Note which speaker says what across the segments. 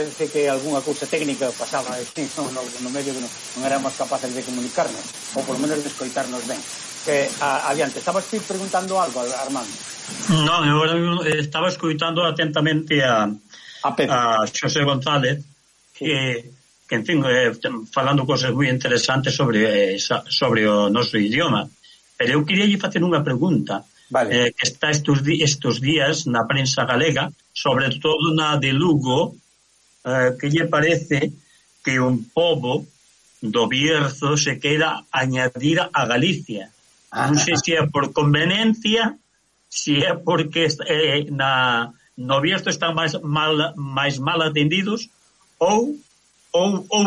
Speaker 1: parece que algunha cousa técnica pasaba no medio que non éramos capaces de comunicarnos, ou por lo menos de escoitarnos ben. Adiante, estabas ti preguntando algo, Armando?
Speaker 2: Non, eu estaba escoitando atentamente a Xosé González, que en fin, falando cosas moi interesantes sobre o noso idioma. Pero eu queria facer unha pregunta, que está estos días na prensa galega, sobre todo na de Lugo, que lle parece que un pobo do Bierzo se queda añadir a Galicia. Non sei se é por conveniencia, se é porque no Bierzo están máis mal atendidos ou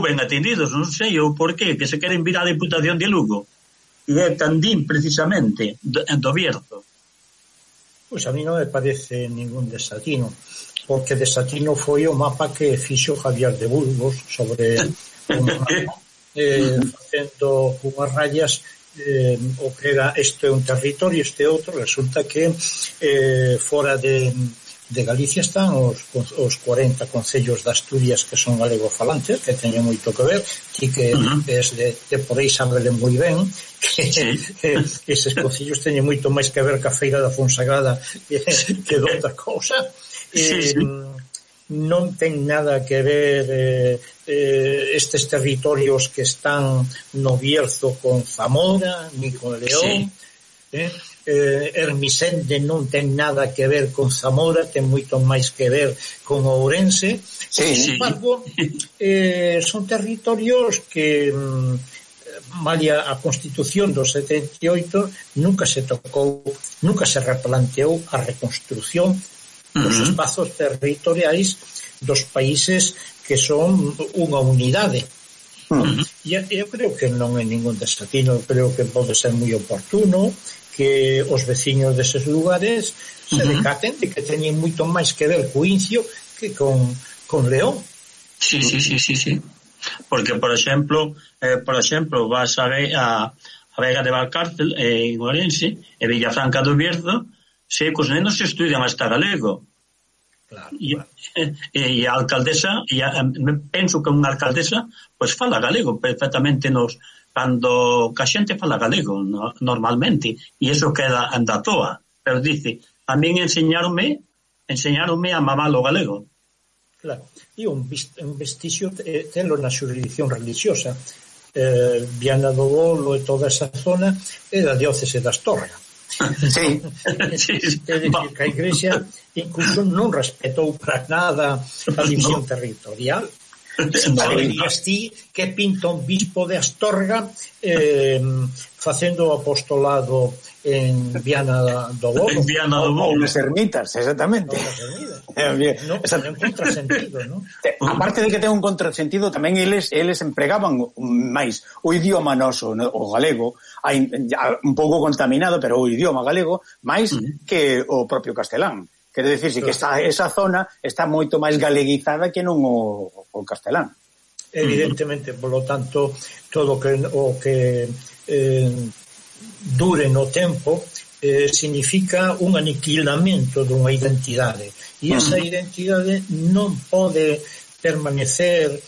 Speaker 2: ben atendidos, non sei ou por qué, que se queren vir á Deputación de Lugo e é Candín precisamente do Bierzo.
Speaker 3: Pois a mí non me parece ningún desatino, porque desatino foi o mapa que fixo Javier de Burgos sobre o mapa, facendo unhas rayas, o que era este un territorio, este outro. Resulta que fora de Galicia están os 40 concellos de Asturias que son galegofalantes, que teñen moito que ver, ti que es de por aí sabele moi ben que eses concellos teñen moito máis que ver ca Feira da Fonsagrada que doutra cousa. Non ten nada que ver estes territorios que están no Bierzo con Zamora ni con León. Hermisende non ten nada que ver con Zamora, ten moito máis que ver con Ourense. Sin embargo, son territorios que malia a Constitución do 78 nunca se tocou, nunca se replanteou a reconstrucción dos espazos territoriais dos países que son unha unidade. Eu creo que non é ningún desatino, creo que pode ser moi oportuno que os veciños deses lugares se decaten de que teñen moito máis que ver co Incio que con León.
Speaker 2: Sí. Porque, por exemplo, vas a ver a Vega de Valcárcel en Ourense e Villafranca do Bierzo, se cos nenos se estudian hasta galego. E a alcaldesa, penso que unha alcaldesa pois fala galego perfectamente cando a xente fala galego normalmente, e iso queda anda toa, pero dice, a min enseñaronme a mamar o galego.
Speaker 3: Claro, e un vestixio tenlo na xurisdicción religiosa. Viana do Bolo e toda esa zona é da diócese de Astorga.
Speaker 1: Sí.
Speaker 3: É dicir, que a Igrexa incluso non respetou para nada a división territorial. Saberías ti que pinta un bispo de Astorga facendo o apostolado en Viana do Bolo.
Speaker 2: En Viana do Bolo.
Speaker 1: Ou nas ermitas, exactamente.
Speaker 3: Non contrasentido, non?
Speaker 1: Aparte de que ten un contrasentido, tamén eles empregaban máis o idioma noso, o galego, un pouco contaminado, pero o idioma galego máis que o propio castelán. Quere dicirse que esa zona está moito máis galeguizada que non o castelán.
Speaker 3: Evidentemente, polo tanto, todo o que dure no tempo significa un aniquilamento dunha identidade, e esa identidade non pode permanecer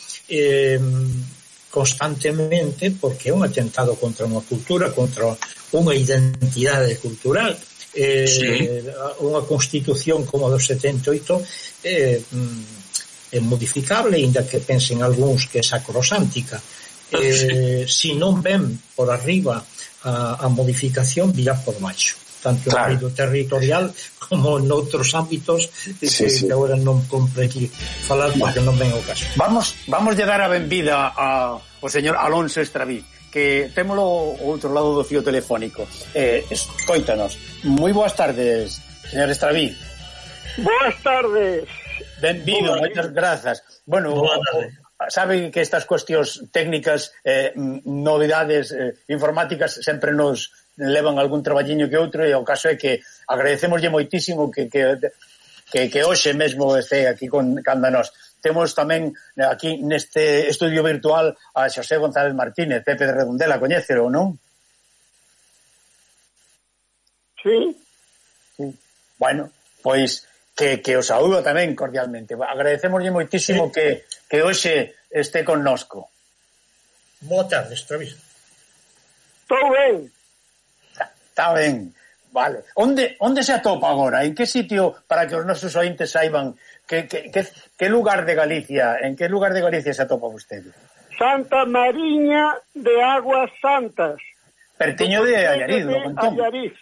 Speaker 3: constantemente, porque é un atentado contra unha cultura, contra unha identidade cultural. Unha constitución como a do 78 é modificable, ainda que pensen algúns que é sacrosántica. Se non ven por arriba a modificación, virá por baixo, tanto en ámbito territorial como noutros ámbitos que agora non compre aquí falar porque non ven o caso.
Speaker 1: Vamos a dar a benvida ao señor Alonso Estraví, que témolo ao outro lado do fío telefónico. Escoítanos. Moi boas tardes, señor Estraví.
Speaker 4: Boas tardes.
Speaker 1: Benvido, moitas grazas. Bueno, saben que estas cuestións técnicas, novidades informáticas sempre nos levan algún traballiño que outro, e o caso é que agradecemoslle moitísimo que hoxe mesmo este aquí canda nós. Temos tamén aquí neste estudio virtual a Xosé González Martínez, Pepe de Redondela, coñécelo, non?
Speaker 4: Sí.
Speaker 1: Bueno, pois que o saúdo tamén cordialmente. Agradecemoslle moitísimo que hoxe este connosco.
Speaker 3: Boa tarde, Estraviz.
Speaker 4: Estou ben.
Speaker 1: Está ben. Vale. Onde se atopa agora? En que sitio, para que os nosos ointes saiban que lugar de Galicia, en que lugar de Galicia se atopa vostede?
Speaker 4: Santa Mariña de Aguas Santas.
Speaker 1: Pertiño de Allariz, do Pontón.
Speaker 4: Allariz.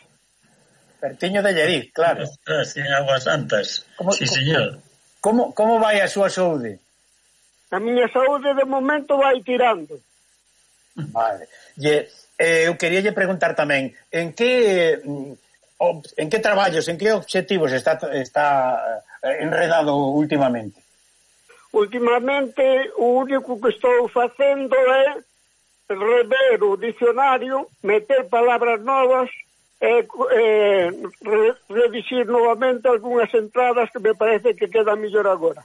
Speaker 1: Pertiño de Allariz, claro.
Speaker 2: En Aguas Santas. Sí, señor.
Speaker 1: Como vai a súa saúde?
Speaker 4: A miña saúde de momento vai tirando.
Speaker 1: Vale. Eu queríalle preguntar tamén en que traballos, en que obxectivos está enredado últimamente?
Speaker 4: Últimamente o único que estou facendo é rever o dicionario, meter palabras novas e redixir novamente algunhas entradas que me parece que quedan mellor agora.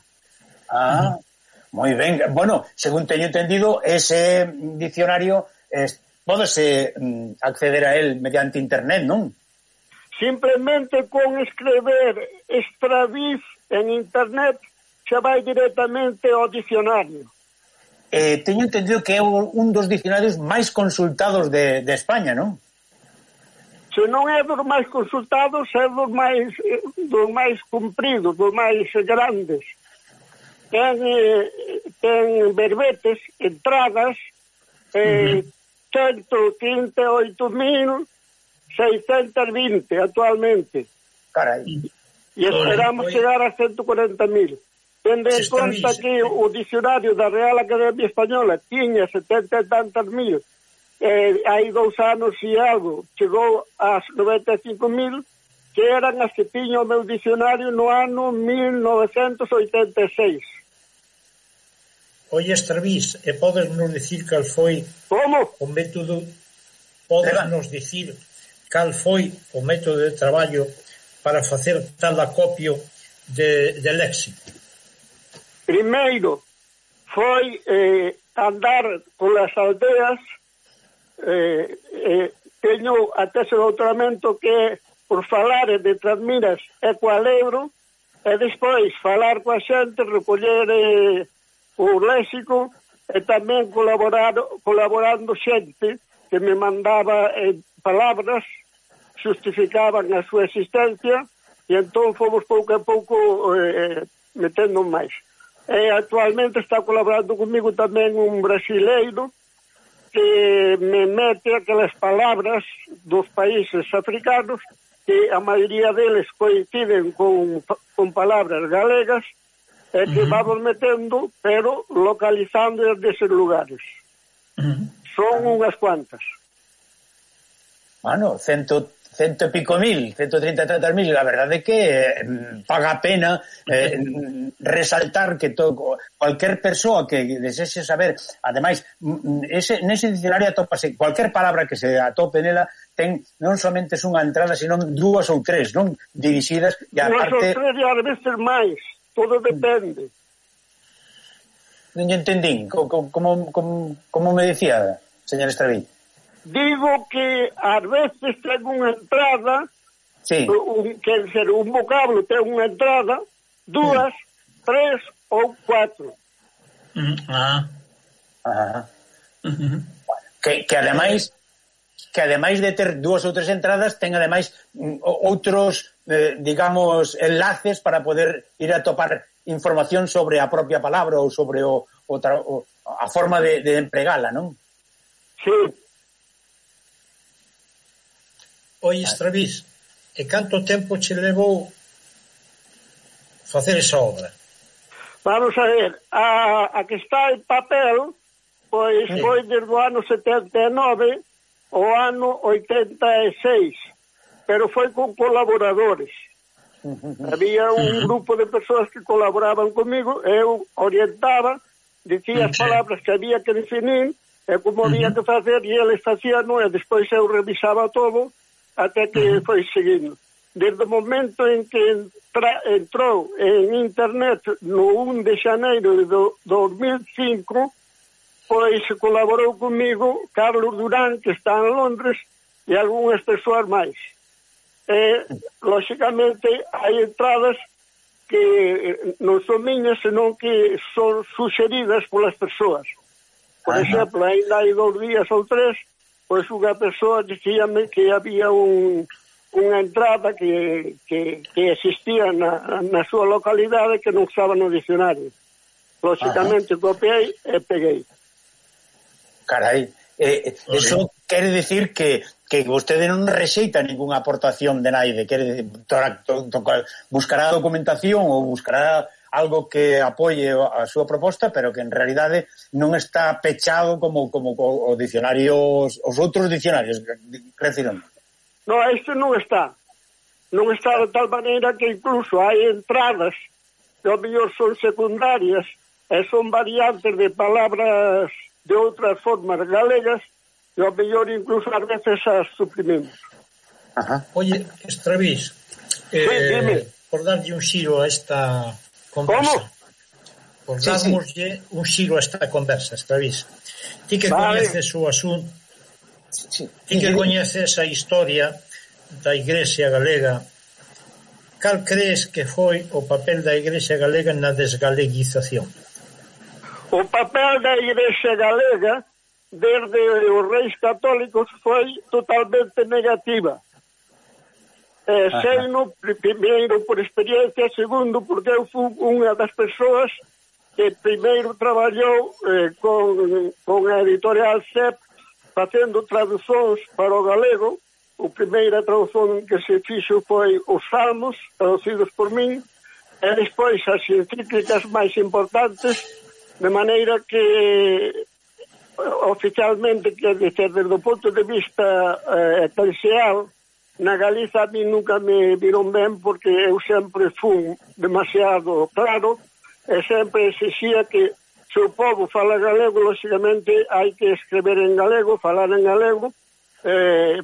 Speaker 1: Moi ben. Bueno, según teño entendido, ese dicionario pódese acceder a él mediante internet, non?
Speaker 4: Simplemente con escrever Estraviz en internet xa vai directamente ao dicionario.
Speaker 1: Teño entendido que é un dos dicionarios máis consultados de España, non?
Speaker 4: Se non é dos máis consultados, é dos máis cumpridos, dos máis grandes. Ten verbetes, entradas, 138.620 actualmente.
Speaker 1: Carai.
Speaker 4: E esperamos chegar a 140.000. Tendo en conta que o dicionario da Real Academia Española tiña 70 e tantas mil, hai 2 anos e algo chegou ás 95.000, que eran as que tiña o meu dicionario no ano 1986.
Speaker 3: Oye, Estraviz, e podes nos dicir cal foi o método, podes nos dicir cal foi o método de traballo para facer tal acopio de léxico?
Speaker 4: Primeiro foi andar polas aldeas, teño a tese de doutoramento que por falar de Trasmiras e Cualegro, e despois falar coa xente, recoller o léxico e tamén colaborando xente que me mandaba palabras, justificaban a súa existencia, e entón fomos pouco a pouco metendo máis. Actualmente está colaborando comigo tamén un brasileiro que me mete aquelas palabras dos países africanos que a maioría deles coinciden con palabras galegas e que vamos metendo, pero localizando deses lugares. Son unhas cuantas.
Speaker 1: Bueno, cento e pico mil, 130 e tantas mil, a verdade é que paga a pena resaltar que cualquier persoa que desexe saber, ademais, nese diccionario atópase, cualquier palabra que se atope nela ten non somente unha entrada, sino 2 ou 3, non? Dirixidas, e aparte...
Speaker 4: 2 ou 3 e ás veces máis, todo depende.
Speaker 1: Non entendín, como me decía, señor Estraviz?
Speaker 4: Digo que ás veces ten unha entrada,
Speaker 1: sí.
Speaker 4: Un vocablo ten unha entrada, 2, 3 ou 4.
Speaker 1: Que ademais de ter 2 ou 3 entradas, ten ademais outros, digamos, enlaces para poder ir a topar información sobre a propia palabra ou sobre a forma de empregala, non?
Speaker 4: Sí.
Speaker 3: Oye, Estraviz, e canto tempo che levou facer esa obra?
Speaker 4: Vamos a ver, a que está en papel, pois foi desde o ano 79 ao ano 86, pero foi con colaboradores. Había un grupo de persoas que colaboraban comigo, eu orientaba, dicía as palabras que había que definir, e como había que facer, e eles facían, e despois eu revisaba todo, até que foi seguindo. Desde o momento en que entrou en internet no 1 de xaneiro de 2005, pois colaborou comigo Carlos Durán, que está en Londres, e algunhas persoas máis. Lóxicamente, hai entradas que non son miñas, senón que son suxeridas polas persoas. Por exemplo, ainda hai 2 días ou 3, pois unha persoa dicíame que había unha entrada que existía na súa localidade que non estaba no dicionario. Lógicamente copiei e peguei.
Speaker 1: Carai, eso quere decir que vostede non rexeita ninguna aportación de naide, quere buscará documentación ou buscará algo que apoie a súa proposta, pero que en realidade non está pechado como o dicionario, os outros dicionarios, reciben.
Speaker 4: No, este non está. Non está de tal maneira que incluso hai entradas que ao mellor son secundarias e son variantes de palabras de outras formas galegas e ao mellor incluso ás veces as suprimimos.
Speaker 3: Oye, Estravís, por darlle un xiro a esta conversa. Por darmoslle un xiro a esta conversa, Estravís. Ti que coñeces o asunto, ti que coñeces a historia da Igrexa galega, cal crees que foi o papel da Igrexa galega na desgaleguización?
Speaker 4: O papel da Igrexa galega desde os reis católicos foi totalmente negativa. Seino, primeiro por experiencia, segundo porque eu fui unha das persoas que primeiro traballou con a editorial CEP facendo traducións para o galego. A primeira tradución que se fixo foi os Salmos, traducidos por min, e despois as encíclicas máis importantes, de maneira que oficialmente, quer dizer, desde o ponto de vista eclesial, na Galiza a mí nunca me viron ben porque eu sempre fui demasiado claro e sempre exixía que se o povo fala galego, lógicamente hai que escrever en galego, falar en galego,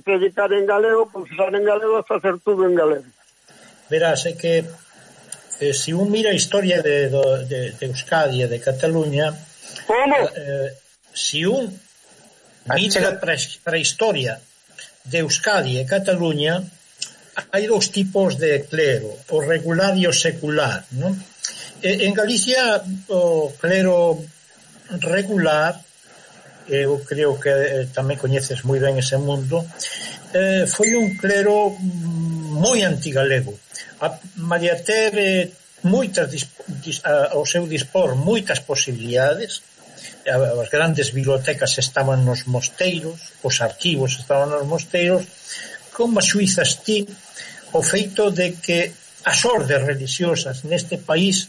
Speaker 4: predicar en galego, confesar en galego e facer tudo en galego.
Speaker 3: Verás, é que se un mira a historia de Euskadi e de Cataluña, se un mira para a historia de Euskadi e Cataluña, hai 2 tipos de clero, o regular e o secular, non? En Galicia o clero regular, eu creo que tamén coñeces moi ben ese mundo, foi un clero moi antigalego. Malia ter ao seu dispor moitas posibilidades, as grandes bibliotecas estaban nos mosteiros, os arquivos estaban nos mosteiros, como as suizas ti o feito de que as ordes religiosas neste país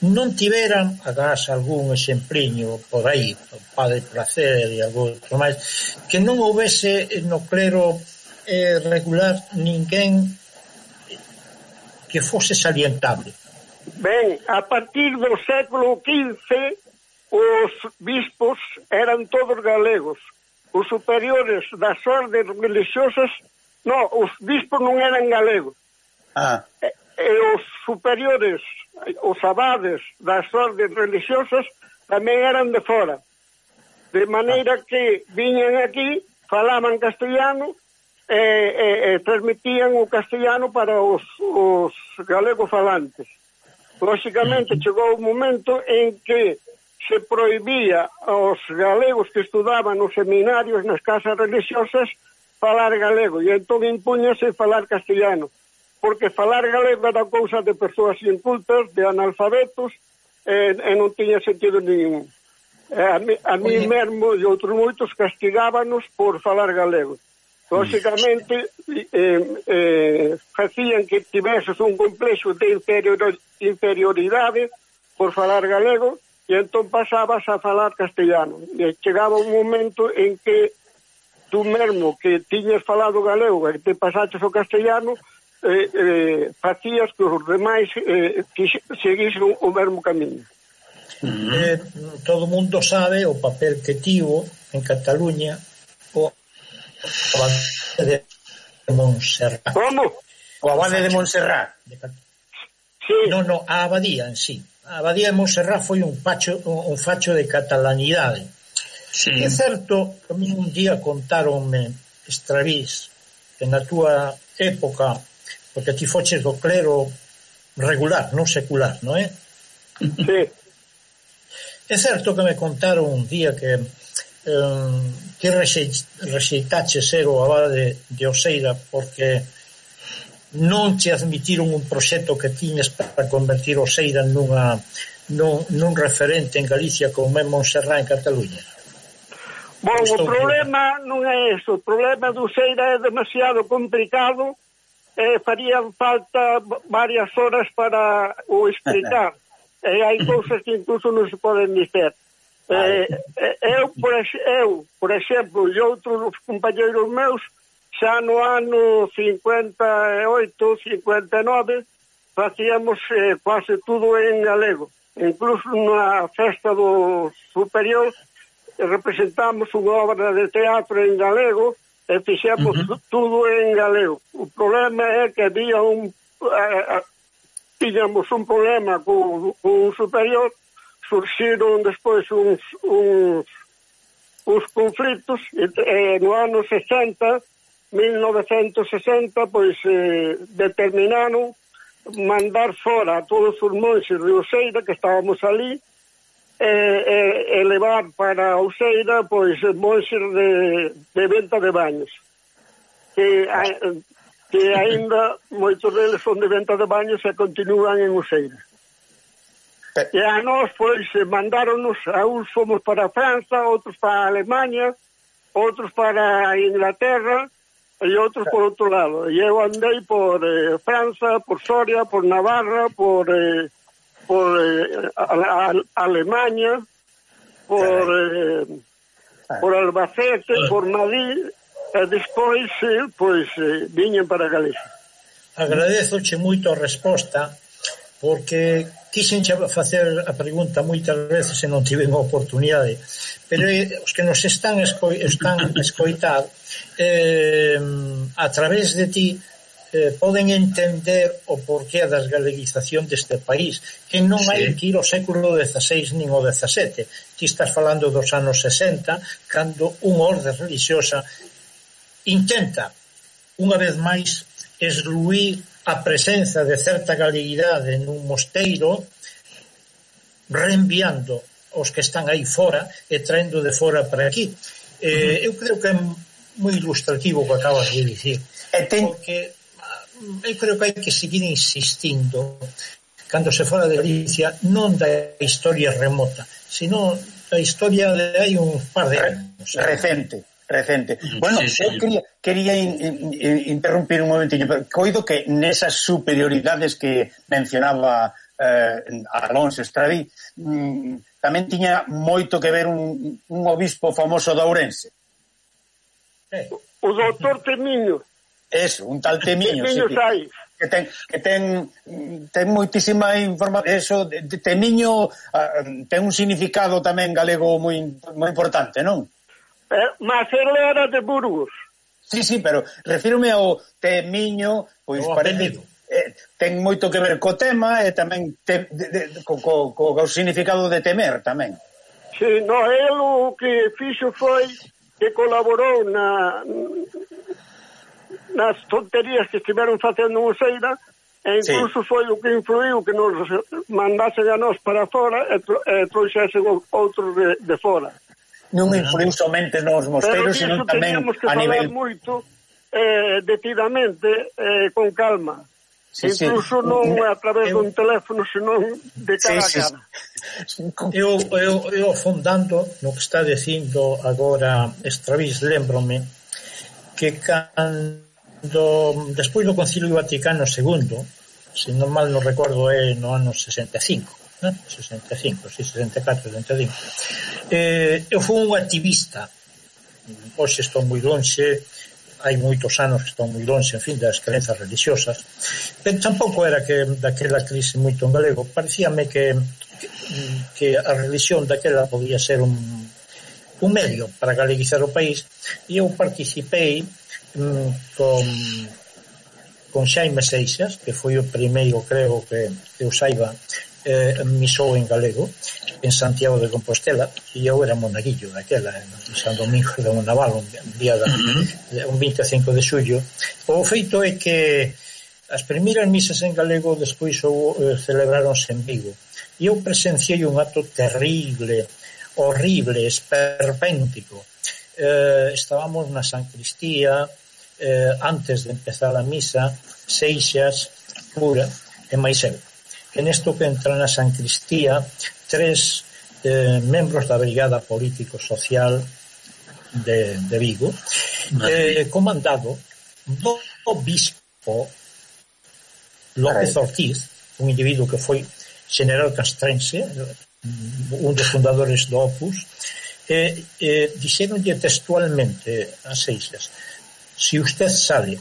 Speaker 3: non tiveran, agás algún exempliño por aí, o Padre Placer e algún outro máis, que non houvese no clero regular ninguén que fose salientable.
Speaker 4: Ben, a partir do século XV os bispos eran todos galegos. Os superiores das ordes religiosas, os bispos non eran galegos. E os superiores, os abades das ordes religiosas tamén eran de fora. De maneira que viñan aquí, falaban castellano e transmitían o castellano para os galegos falantes. Lógicamente chegou un momento en que se prohibía aos galegos que estudaban nos seminarios, nas casas religiosas, falar galego, e entón impúñase falar castellano, porque falar galego era cousa de persoas incultas, de analfabetos, e non tiña sentido ningún. A mí mesmo e outros moitos castigábanos por falar galego. Lógicamente, facían que tiveses un complexo de inferioridade por falar galego, e entón pasabas a falar castellano. E chegaba un momento en que tú mesmo que tiñas falado galego e te pasaches o castellano, facías que os demais seguisen o mesmo camiño.
Speaker 3: Todo o mundo sabe o papel que tivo en Cataluña o abade de Montserrat.
Speaker 4: Como?
Speaker 1: O abade de Montserrat.
Speaker 3: Sí. Non, a abadía en sí. A abadía de Montserrat foi un facho de catalanidade. Sí. É certo que a mí un día contáronme, Estravís, que na túa época, porque ti foches do clero regular, non secular, non é?
Speaker 4: Sí.
Speaker 3: É certo que me contaron un día que rexeitache ser o abade de Oseira porque non te admitiron un proxecto que tiñes para convertir Oseira nun referente en Galicia como é Montserrat en Cataluña.
Speaker 4: Bom, o problema non é eso. O problema de Oseira é demasiado complicado e farían falta varias horas para o explicar. E hai cousas que incluso non se poden dizer. Eu, por exemplo, e outros compañeiros meus, xa no ano 58, 59, facíamos quase tudo en galego. Incluso na festa do superior representamos unha obra de teatro en galego e fixemos tudo en galego. O problema é que había tiñamos un problema con un superior, surxiron despois uns conflitos e no ano 1960, pois determinaron mandar fora a todos os monxes de Oseira que estábamos ali e levar para Oseira pois monxes de venta de baños que aínda moitos deles son de venta de baños e continúan en Oseira. E a nós, pois, mandáronos, a uns fomos para França, outros para Alemanha, outros para Inglaterra e outros por outro lado. E eu andei por França, por Soria, por Navarra, por Alemanha, por Albacete, por Madrid, e despois, pois, viñen para Galicia.
Speaker 3: Agradezoche moito a resposta, porque quixen facer a pregunta moitas veces e non tive a oportunidade, pero os que nos están escoitar a través de ti poden entender o porqué das galeguización deste país, que non hai que ir ao século XVI nin ao XVII. Ti estás falando dos anos 60, cando unha orde religiosa intenta, unha vez máis, esluir a presenza de certa galeguidade nun mosteiro, reenviando os que están aí fora e traendo de fora para aquí. Eu creo que é moi ilustrativo o que acabas de dicir, porque eu creo que hai que seguir insistindo cando se fala de Galicia, non da historia remota, sino da historia de hai un par de anos.
Speaker 1: Recente. Bueno, eu quería interrumpir un momentinho, pero coido que nesas superioridades que mencionaba Alonso Estradí tamén tiña moito que ver un obispo famoso de Ourense.
Speaker 4: O doutor Temiño.
Speaker 1: Eso, un tal Temiño, que ten moitísima información. Eso, Temiño ten un significado tamén galego moi importante, non?
Speaker 4: Mas ele era de Burgos.
Speaker 1: Sí, pero refírome ao Temiño, pois parece ten moito que ver co tema e tamén co significado de temer tamén.
Speaker 4: Sí, no, ele o que fixo foi que colaborou nas tonterías que estiveron facendo en Oseira e incluso foi o que influiu que nos mandasen a nós para fora e trouxesen outros de fora.
Speaker 1: Non influiu somente nos mosteiros, sino tamén a nivel...
Speaker 4: Pero moito detidamente, con calma. Incluso non a través dun teléfono, senón de cara a cara.
Speaker 3: Eu afondando no que está dicindo agora Estravís, lembrome que cando despois do Concilio Vaticano II, se non mal non recordo é no ano 65, 64, 65. Eu fui un activista, hoxe estou moi lonxe, hai moitos anos que estou moi lonxe, en fin, das crenzas religiosas, pero tampouco era que daquela crise moito en galego, parecíame que a religión daquela podía ser un medio para galeguizar o país, e eu participei con Xaime Seixas, que foi o primeiro, creo que eu saiba, misou en galego en Santiago de Compostela, e eu era monaguillo daquela en San Domingo de Naval, un 25 de xullo. O feito é que As primeiras misas en galego despois celebráronse en Vigo. E eu presenciei un acto terrible, horrible, esperpéntico. Estábamos na Sancristía, antes de empezar a misa, Seixas, cura, e máis eu. Que nesto que entra na Sancristía 3 membros da Brigada Político-Social de Vigo, comandado do bispo López Ortiz, un individuo que foi general castrense, un dos fundadores do Opus, dixeronlle textualmente a Seixas: si usted sale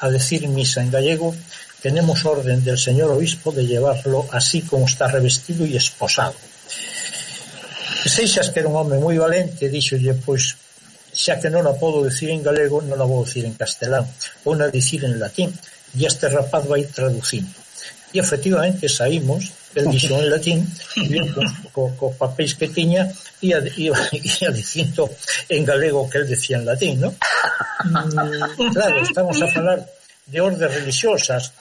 Speaker 3: a decir misa en gallego, tenemos orden del señor obispo de llevarlo así como está revestido y esposado. Seixas, que era un home moi valente, dixolle: pois, xa que non a podo decir en galego, non a vou decir en castelán, vou a dicir en latín, e este rapaz vai traducindo. E efectivamente saímos, el dixo en latín, cos papéis que tiña, ia dicindo en galego que el decía en latín, ¿no? Claro, estamos a falar de ordes religiosas.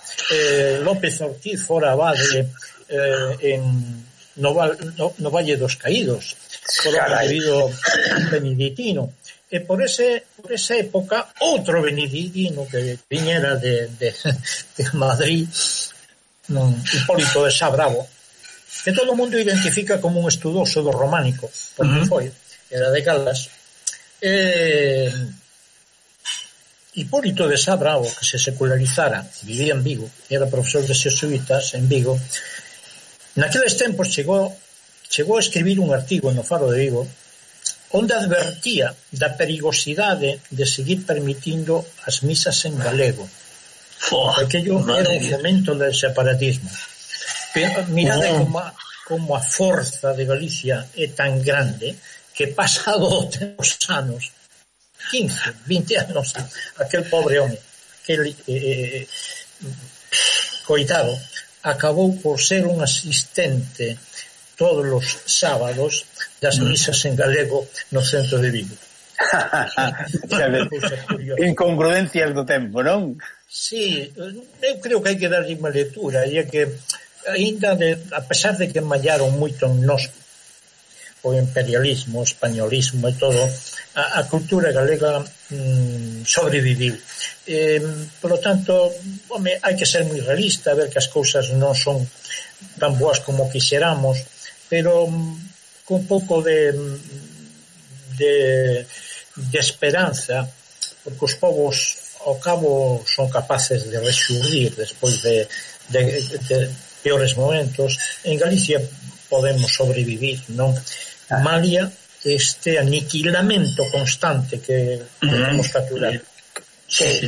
Speaker 3: López Ortiz fora abade no Valle dos Caídos, fora debido beneditino. E por esa época, outro beneditino que viñera de Madrid, Hipólito de Sá Bravo, que todo o mundo identifica como un estudoso do románico, porque foi, era de Caldas. Hipólito de Sá Bravo, que se secularizara, vivía en Vigo, era profesor de xesuítas en Vigo, naqueles tempos chegou a escribir un artigo no Faro de Vigo onde advertía da perigosidade de seguir permitindo as misas en galego. Aquello era un fomento del separatismo. Pero mirade como a forza de Galicia é tan grande que pasado os anos, 15, 20 anos, aquel pobre home, aquel coitado, acabou por ser un asistente todos os sábados das misas en galego no centro de Vigo.
Speaker 1: Incongruencias do tempo, non?
Speaker 3: Sí, eu creo que hai que darlle unha lectura, e é que ainda a pesar de que mallaron moito en nós o imperialismo, o españolismo e todo, a cultura galega sobreviviu. Por lo tanto, home, hai que ser moi realista, ver que as cousas non son tan boas como quixeramos, pero con un pouco de esperanza, porque os povos ao cabo son capaces de rexurdir despois de peores momentos. En Galicia podemos sobrevivir, non? Malia este aniquilamento constante que temos capturar.
Speaker 1: Sí,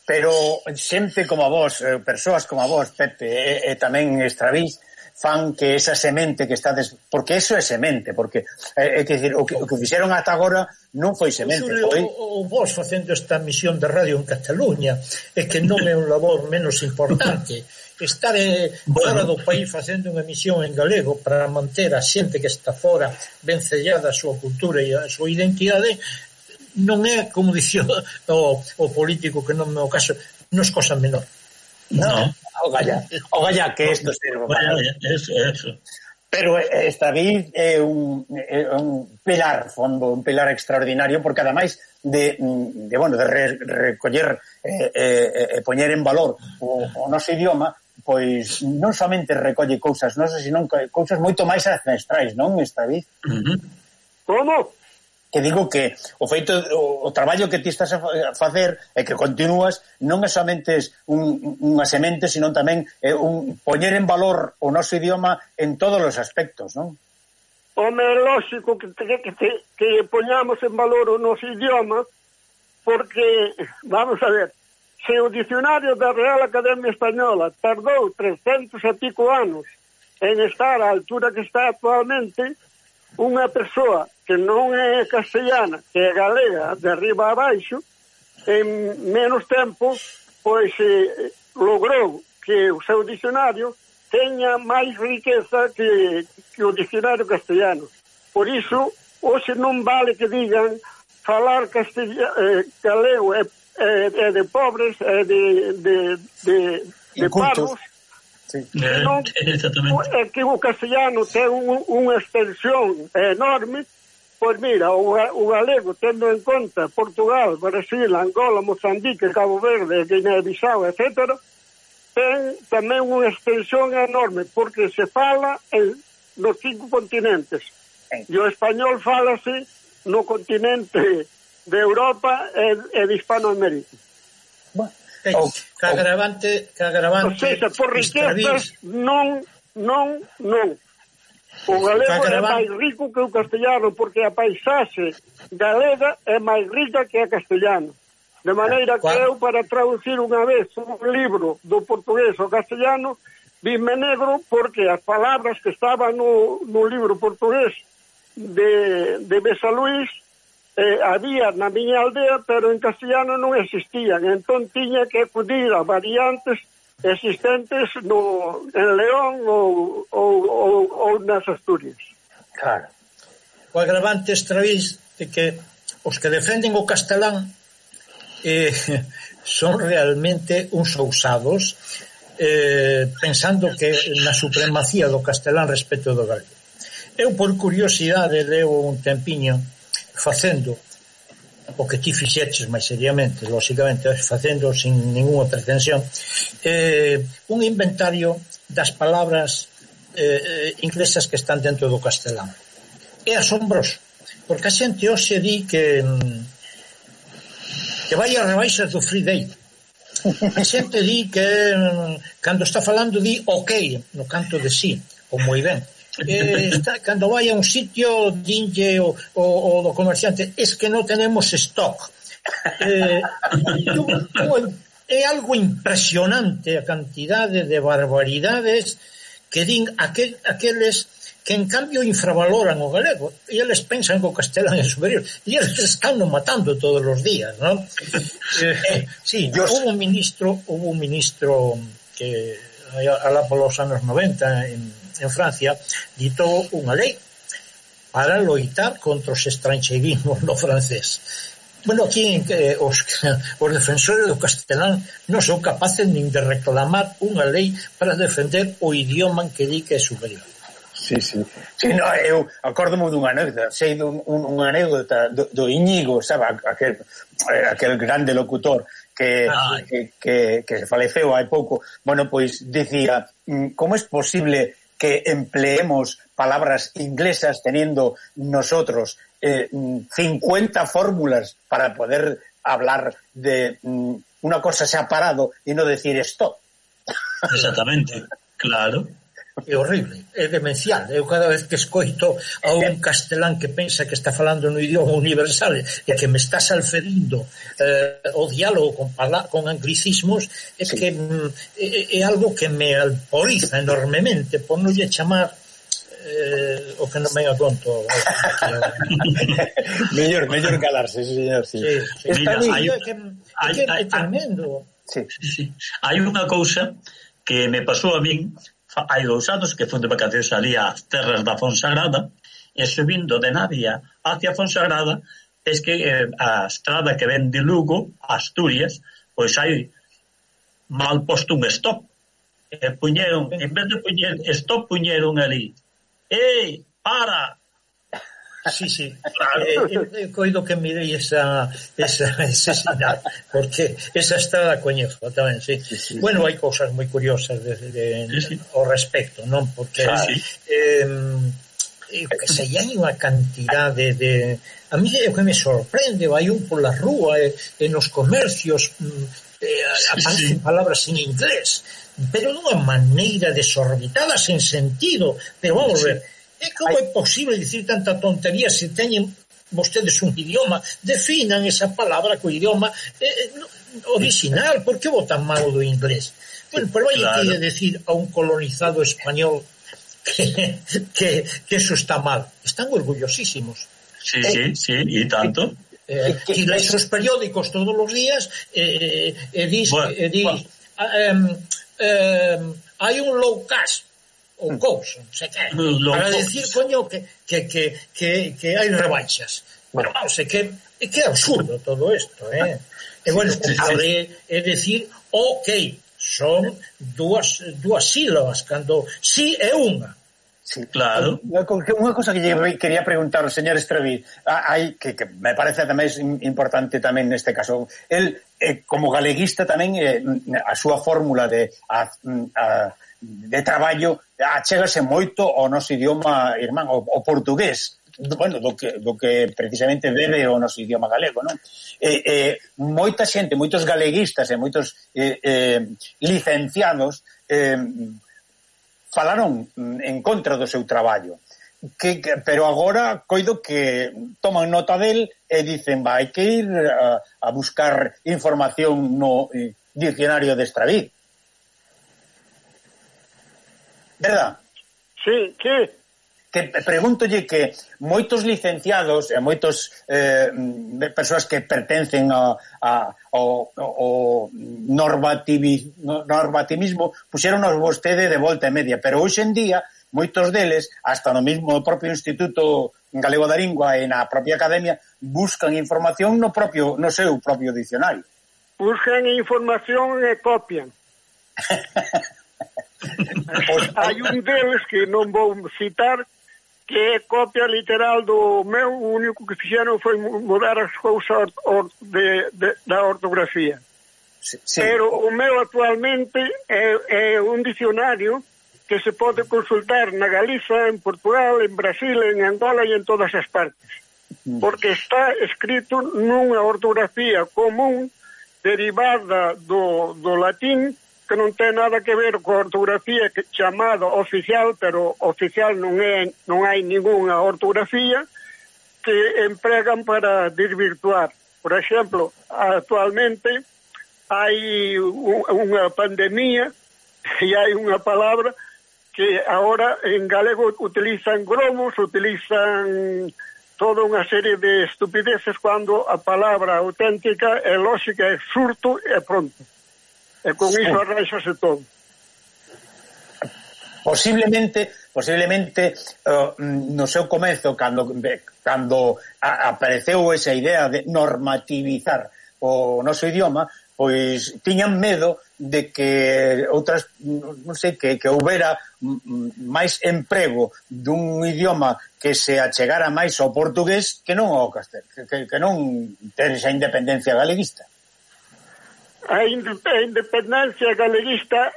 Speaker 1: pero xente como a vos, persoas como a vos, Pepe, e tamén Estravís, fan que esa semente que estades, porque eso é semente, porque é que decir, o que fixeron ata agora non foi semente, foi
Speaker 3: o vos facendo esta misión de radio en Cataluña, é que non é un labor menos importante. Estar fora do país facendo unha misión en galego para manter a xente que está fora ben sellada a súa cultura e a súa identidade, non é, como dicía o político que non é o caso, non é cosa menor.
Speaker 1: Non, o galla que isto sirva para
Speaker 2: eso.
Speaker 1: Pero esta vez é un pilar fondo, un pilar extraordinario, porque ademais de recoller e poñer en valor o noso idioma, pois non somente recolle cousas nosas, senón cousas moito máis ancestrais, non, esta vez?
Speaker 4: Como?
Speaker 1: Que digo que o feito, o traballo que ti estás a facer e que continúas non é somente unha semente, sino tamén un poñer en valor o noso idioma en todos os aspectos, non?
Speaker 4: Home, é lógico que poñamos en valor o noso idioma, porque, vamos a ver, se o dicionario da Real Academia Española tardou 300 e pico anos en estar á altura que está actualmente, unha persoa que non é castellana, que é galega, de arriba a baixo, en menos tempo, pois logrou que o seu dicionario teña máis riqueza que o dicionario castellano. Por iso, hoxe non vale que digan falar galego é de pobres, de parvos.
Speaker 1: Sí.
Speaker 4: Non, é que o castellano ten unha extensión enorme. Pois mira, o galego, tendo en conta Portugal, Brasil, Angola, Mozambique, Cabo Verde, Guinea-Bissau, etc., ten tamén unha extensión enorme, porque se fala nos 5 continentes. E o español fálase no continente de Europa e de Hispanoamérica.
Speaker 3: Que agravante
Speaker 4: o sea, por riquezas non o galego é máis rico que o castellano, porque a paisaxe galega é máis rica que a castellano, de maneira que eu, para traducir unha vez un libro do portugués ao castellano, vime negro, porque as palabras que estaban no libro portugués de Besaluís había na miña aldea, pero en castellano non existían, entón tiña que acudir a variantes existentes en León ou nas Asturias.
Speaker 3: Claro. O agravante extraís de que os que defenden o castelán son realmente uns ousados, pensando que na supremacía do castelán respecto do galego. Eu, por curiosidade, levo un tempiño facendo o que ti fixeches máis seriamente, lógicamente facendo sin ninguna pretensión, un inventario das palabras inglesas que están dentro do castelán. É asombroso, porque a xente hoxe di que vai a rebaixas do Free Day. A xente di que cando está falando di ok no canto de sí, ou moi ben. Cando vai a un sitio dinlle o do comerciante, es que non tenemos stock. É algo impresionante a cantidade de barbaridades que din aqueles que en cambio infravaloran o galego, e eles pensan que o castelán é superior, e eles están matando todos os días, non? Sí, houve un ministro que alá polos anos 90 en Francia ditou unha lei para loitar contra os estranxeirismos no francés. Bueno, aquí os defensores do castelán non son capaces nin de reclamar unha lei para defender o idioma que di que é superior.
Speaker 1: Sí, no, eu acórdome dunha anécdota, sei dunha anécdota do Íñigo, sabe, aquel grande locutor que se faleceu hai pouco. Bueno, pois dicía, como é posible que empleemos palabras inglesas teniendo nosotros 50 fórmulas para poder hablar de una cosa separado y no decir stop?
Speaker 2: Exactamente, claro.
Speaker 3: É horrible, é demencial. Eu cada vez que escoito a un castelán que pensa que está falando no idioma universal e que me está salferindo o diálogo con anglicismos, é que é algo que me alboriza enormemente, por non lle chamar o que non me a conto.
Speaker 1: mellor calarse, señor. Sí.
Speaker 3: É tremendo.
Speaker 2: Hai unha cousa que me pasou a min hai 2 anos, que fui de vacacións ali ás terras da Fonsagrada, e subindo de Navia hacia Fonsagrada, es que a estrada que ven de Lugo a Asturias, pois hai mal posto un stop, puñeron, en vez de puñer stop, puñeron ali para.
Speaker 3: Sí. Coido que mirei esa señal, porque esa estrada coñezo tamén, sí. Bueno, hai cousas moi curiosas ao respecto, non? Porque que se hai unha cantidade de... A mí é o que me sorprende, vai un pola rúa e nos comercios aparecen palabras en inglés, pero dunha maneira desorbitada, sen sentido, pero vamos ver. E como é posible dicir tanta tontería se teñen vostedes un idioma? Definan esa palabra co idioma original. Por que botan mal do inglés? Bueno, pero vai a decir a un colonizado español que eso está mal. Están orgullosísimos.
Speaker 2: Sí, e tanto.
Speaker 3: E leis os periódicos todos os días e dis hai un low cash ou cousa, non sei que, para decir, coño, que hai rebaixas. Bueno, vamos, é que é absurdo todo isto, E, bueno, é dicir, ok, son dúas sílabas, cando sí é unha.
Speaker 1: Sí, claro. Unha cosa que quería preguntar ao señor Estreví, hai que me parece tamén importante tamén neste caso, el como galeguista tamén a súa fórmula de traballo achégase moito ao noso idioma irmán, o portugués, bueno, do que precisamente bebe o noso idioma galego, non? Moita xente, moitos galeguistas e moitos licenciados falaron en contra do seu traballo, pero agora coido que toman nota del e dicen, hai que ir a buscar información no diccionario de Estraví. Verdad?
Speaker 4: Sí, que
Speaker 1: preguntolle que moitos licenciados e moitos persoas que pertencen ao normativismo puxeron vostede de volta e media, pero hoxe en día moitos deles, hasta no mismo propio Instituto Galego da Lingua e na propia Academia, buscan información no seu propio dicionario.
Speaker 4: Buscan información e copian. Hai un deles que non vou citar, que é copia literal do meu, o único que fixeron foi mudar as cousas da ortografía.
Speaker 1: Sí.
Speaker 4: Pero o meu actualmente é un dicionario que se pode consultar na Galiza, en Portugal, en Brasil, en Angola e en todas as partes. Porque está escrito nunha ortografía común derivada do latín, que non ten nada que ver coa ortografía chamada oficial, pero oficial non hai ningunha ortografía que empregan para desvirtuar. Por exemplo, actualmente hai unha pandemia e hai unha palabra que agora en galego utilizan gromos, utilizan toda unha serie de estupideces cando a palabra auténtica é lógica, é surto e pronto. E con iso arranxase todo.
Speaker 1: Posiblemente no seu comezo, cando apareceu esa idea de normativizar o noso idioma, pois tiñan medo de que outras, non sei, que houbera máis emprego dun idioma que se achegara máis ao portugués que non ao castelán, que non ter esa independencia galeguista.
Speaker 4: A independencia galeguista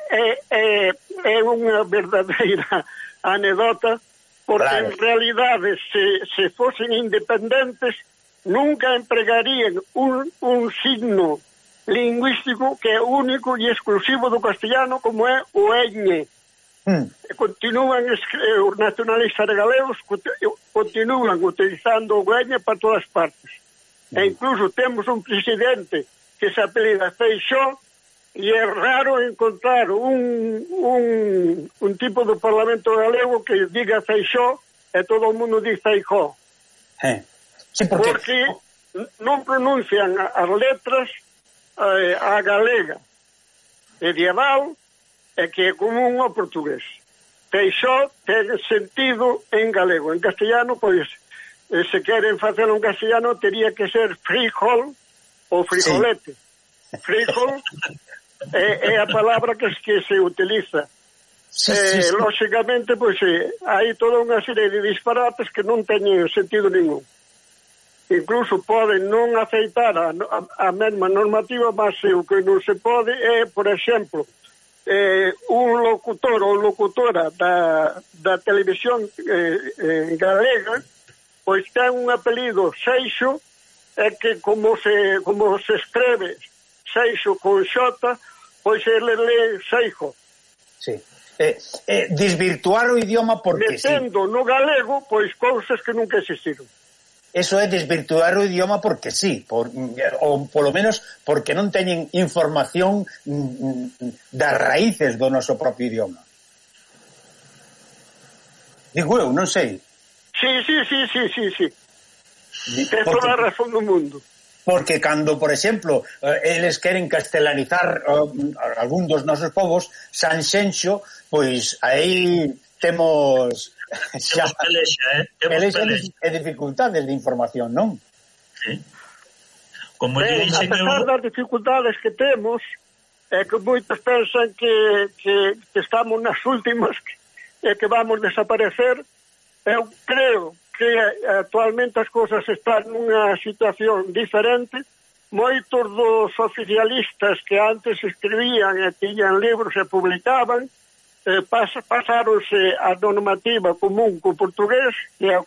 Speaker 4: é unha verdadeira anedota, porque claro, en realidade se fosen independentes nunca empregarían un signo lingüístico que é único e exclusivo do castellano, como é o ñ. Continúan os nacionalistas galegos continúan utilizando o ñ para todas partes. E incluso temos un presidente que se apelida Feixó, e é raro encontrar un tipo do Parlamento galego que diga Feixó e todo o mundo diz Feijó.
Speaker 1: Sí,
Speaker 4: porque non pronuncian as letras a galega medieval e que é común ao portugués. Feixó ten sentido en galego. En castellano, pois, se queren facelo en castellano, tería que ser frijol ou frijolete. Sí. Frijol é a palabra que se utiliza. Sí. Lógicamente, pois, hai toda unha serie de disparates que non teñen sentido ningún. Incluso poden non aceitar a mesma normativa, mas o que non se pode é, por exemplo, un locutor ou locutora da televisión galega, pois ten un apelido Seixo, é que como se escreve Seixo con xota, pois ele lê Seixo.
Speaker 1: Sí. Desvirtuar o idioma porque
Speaker 4: metendo no galego, pois, cousas que nunca existiron.
Speaker 1: Eso é desvirtuar o idioma porque sí, ou polo menos porque non teñen información das raíces do noso propio idioma. Digo eu, non sei.
Speaker 4: Sí. Ten toda a razón do mundo.
Speaker 1: Porque cando, por exemplo, eles queren castelanizar algún dos nosos povos, Sanxenxo, pois aí temos
Speaker 2: pelexa,
Speaker 1: e dificultades de información, non?
Speaker 2: Sí. como lle dixe que...
Speaker 4: A pesar das dificultades que temos, é que moitos pensan que estamos nas últimas e que vamos desaparecer. Eu creo que actualmente as cousas están nunha situación diferente. Moitos dos oficialistas que antes escribían e tiñan libros e publicaban, pasáronse a normativa común co portugués, que é a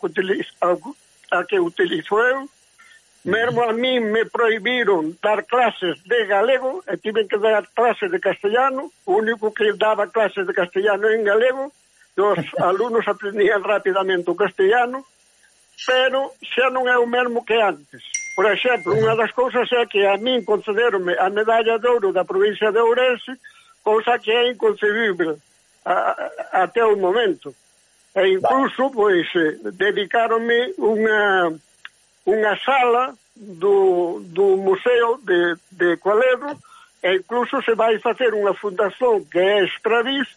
Speaker 4: que utilizo eu. Mesmo a mí me prohibiron dar clases de galego e tiven que dar clases de castellano. O único que daba clases de castellano en galego, os alumnos aprendían rapidamente o castellano, pero xa non é o mesmo que antes. Por exemplo, unha das cousas é que a min concederonme a medalla de ouro da provincia de Ourense, cousa que é inconcebible até o momento. E incluso, pois, dedicáronme unha sala do Museo de Cualedro, e incluso se vai facer unha fundación que é Extravis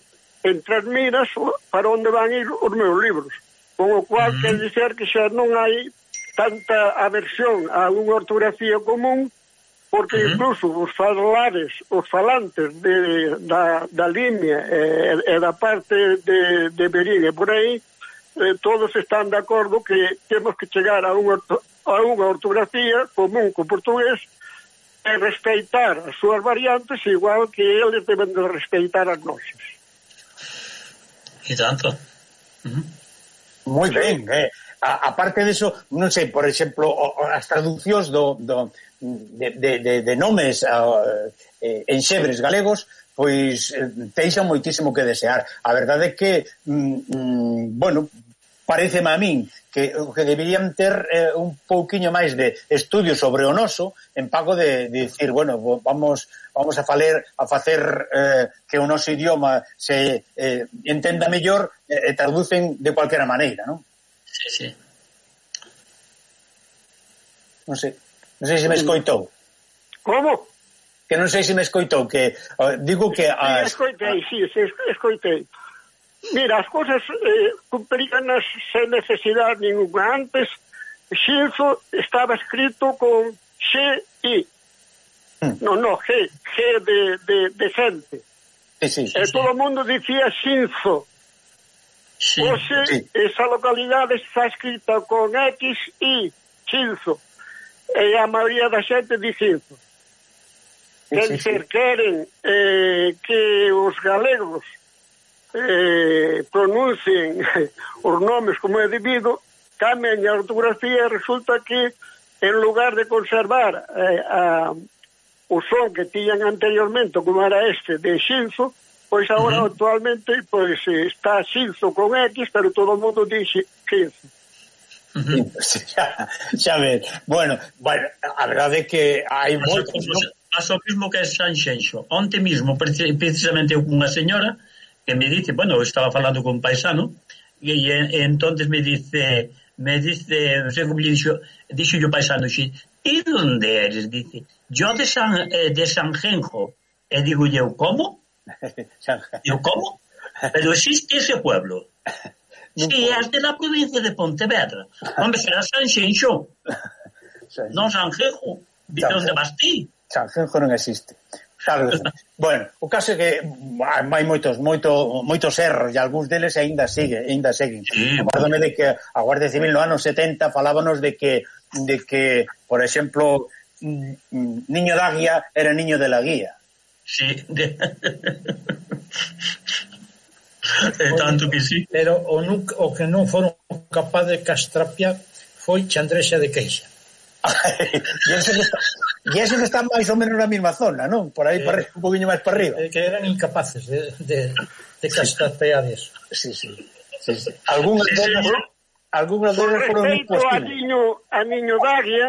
Speaker 4: en Trasmiras, para onde van ir os meus libros, con o cual quer dizer que xa non hai tanta aversión a unha ortografía común, porque incluso os falantes da línea e da parte de Berín e por aí, todos están de acordo que temos que chegar a unha ortografía común co portugués e respeitar as súas variantes igual que eles deben de respeitar as nosas.
Speaker 2: E tanto.
Speaker 1: Moi ben, aparte disso, non sei, por exemplo, as traduccións de nomes en xebres galegos, pois deixan moitísimo que desear. A verdade é que, bueno, pareceme a min que deberían ter un pouquiño máis de estudio sobre o noso en pago de dicir, bueno, vamos a facer que o noso idioma se entenda mellor e traducen de cualquera maneira, non?
Speaker 2: Sí.
Speaker 1: Non sei se me escoitou.
Speaker 4: Como?
Speaker 1: Que non sei se me escoitou, que digo que...
Speaker 4: Escoitei. Mira, as cousas cumpriganas sen necesidade ninguna. Antes, Xilzo estaba escrito con X-I. No, G de gente.
Speaker 1: Sí.
Speaker 4: Todo o mundo dicía Xinzo. Hoxe, esa localidade está escrita con X-I, Xilzo. E a maioría da xente di Xilzo. Quer dizer, queren que os galegos pronuncien os nomes como é debido, cambian a ortografía e resulta que en lugar de conservar o son que tiñan anteriormente como era este de Xinzo, pois agora actualmente pois está Xinzo con X, pero todo o mundo dixe Xinzo.
Speaker 1: Xa ves, bueno, a verdade é que hai moitos, non?
Speaker 2: Pasa o mismo que Sanxenxo. Onte mismo, precisamente unha señora que me dice, bueno, eu estaba falando con un paisano e entonces me dice, non sei como lle dixo o paisano, e onde eres? Dice, yo de Sanjenjo. E digo eu, como? Digo, como? Pero existe ese pueblo. Sí, es de la provincia de Pontevedra. Hombre, será Sanxenxo. Non Sanjenjo. Dice, onde vas ti?
Speaker 1: Sanjenjo non existe. Claro, bueno, o caso é que hai moitos erros e algúns deles ainda seguen. Acórdame de que a Guardia Civil no ano 70 falábanos de que por exemplo, niño da guía era niño de la guía.
Speaker 2: Sí. Tanto que sí.
Speaker 3: Pero o que non foron capaz de castrapiar foi Chandrexa de Queixa.
Speaker 1: E eso que está máis ou menos na mesma zona, non? Por aí, un poquinho máis para arriba.
Speaker 3: Que eran incapaces de castrapear eso.
Speaker 1: Sí. Algúnas delas foron imposibles.
Speaker 4: A niño Daguia,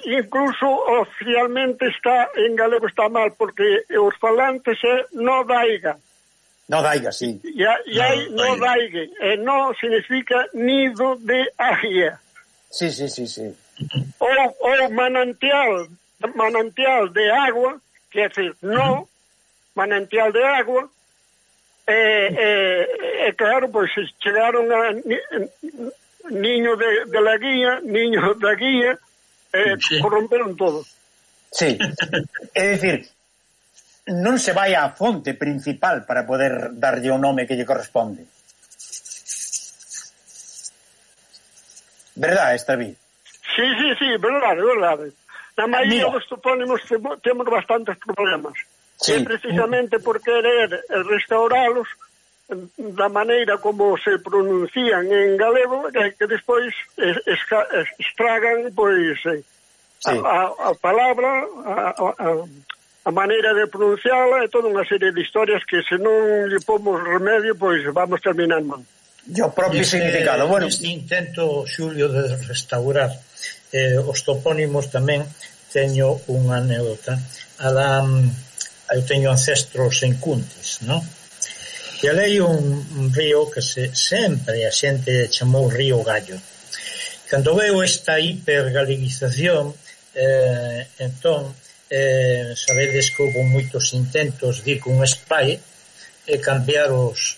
Speaker 4: incluso oficialmente está en galego está mal, porque os falantes é no daiga.
Speaker 1: No daiga, sí.
Speaker 4: E hai no daigue, e no significa nido de águia.
Speaker 1: Sí.
Speaker 4: Ou manantial de agua, quer dizer, no manantial de agua, e claro, pois chegaron a niño de la guía, niño da guía, corromperon todo.
Speaker 1: Sí, é dicir, non se vai á fonte principal para poder darlle o nome que lle corresponde. Verdade, Estaví?
Speaker 4: Sí, verdade. Na maioría dos topónimos temos bastantes problemas. Sí. Precisamente por querer restauralos da maneira como se pronuncian en galego, que despois estragan pois a palabra, a maneira de pronunciala e toda unha serie de historias que se non lle pomos remedio, pois vamos terminar mal.
Speaker 1: E o propio significado, bueno.
Speaker 3: Este intento, Xulio, de restaurar os topónimos tamén teño unha anécdota. Eu teño ancestros en Cuntis, non? E alei un río que sempre a xente chamou Río Gallo. Cando veo esta hipergaleguización, entón, sabedes que houve moitos intentos de ir con spray e cambiar os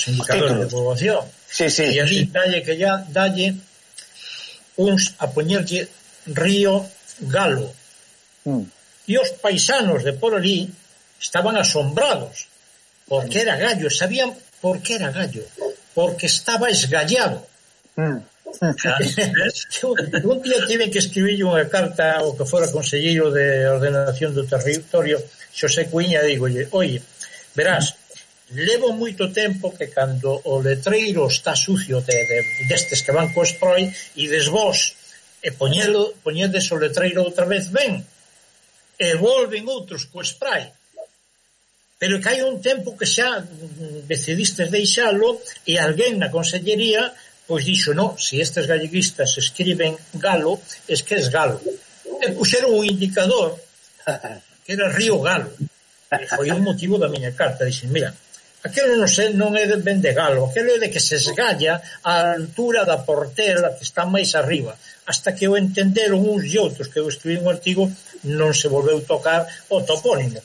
Speaker 3: indicadores de poboación. E ali dalle uns a poñerlle Río Galo. E os paisanos de por ali estaban asombrados porque era gallo, sabían por que era gallo, porque estaba esgallado. Un día tive que escribir unha carta ao que fora conselleiro de ordenación do territorio, Xosé Cuíña, digolle, oye, verás, levo moito tempo que cando o letreiro está sucio destes que van co spray e desvós e poñedes o letreiro outra vez ben e volven outros co spray, pero que hai un tempo que xa decidistes deixalo e alguén na consellería pois dixo, no, se estes galleguistas escriben galo, es que es galo, e puxeron un indicador que era Río Galo, e foi o motivo da miña carta. Dixen, mira, aquilo non é ben de galo, aquilo é de que se esgalla a altura da portela que está máis arriba, hasta que o entenderon uns e outros, que eu escribí un artigo, non se volveu tocar o topónimo.